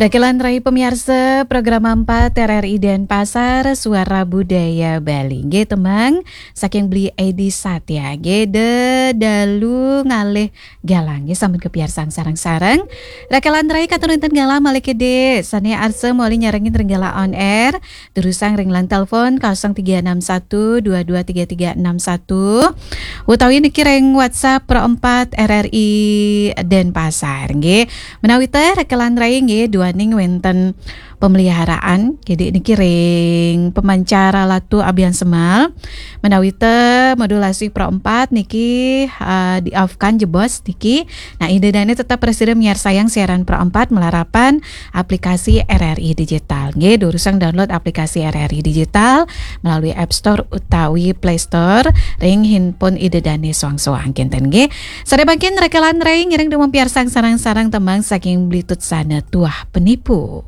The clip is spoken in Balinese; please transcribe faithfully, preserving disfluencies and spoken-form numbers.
Rakelan rai pamiarsa program empat R R I Denpasar, Suara Budaya Bali. Nggih, tembang saking Bli Edi Satya. Nggih, Dedalu Ngalih Galang. Nggih, sampun kapiarsang sareng-sareng. Rakelan rai katur wénten galah malih kedhé sané arsa malih nyarengin ring galah on air. Durusang ring line telepon kosong tiga enam satu dua dua tiga tiga enam satu, utawi niki ring WhatsApp Pro empat R R I Denpasar, nggih. Menawi teh rakelan rai nggih duaning wénten pemeliharaan, jadi niki ring pemancar latu Abian Semal. Menawi teh modulasi Pro empat niki, eh, di off kan jebos niki. Nah, Ida Dané tetap prasida miarsayang siaran Pro empat malarapan aplikasi R R I Digital. Nggih, durusang download aplikasi R R I Digital melalui App Store utawi Play Store ring handphone Ida Dané soang-soang kinten, nggih. Sadaya mangkin rakelan rai ngiring dumun piarsang sareng-sareng tembang saking Bli Tutsana Tuah Penipu.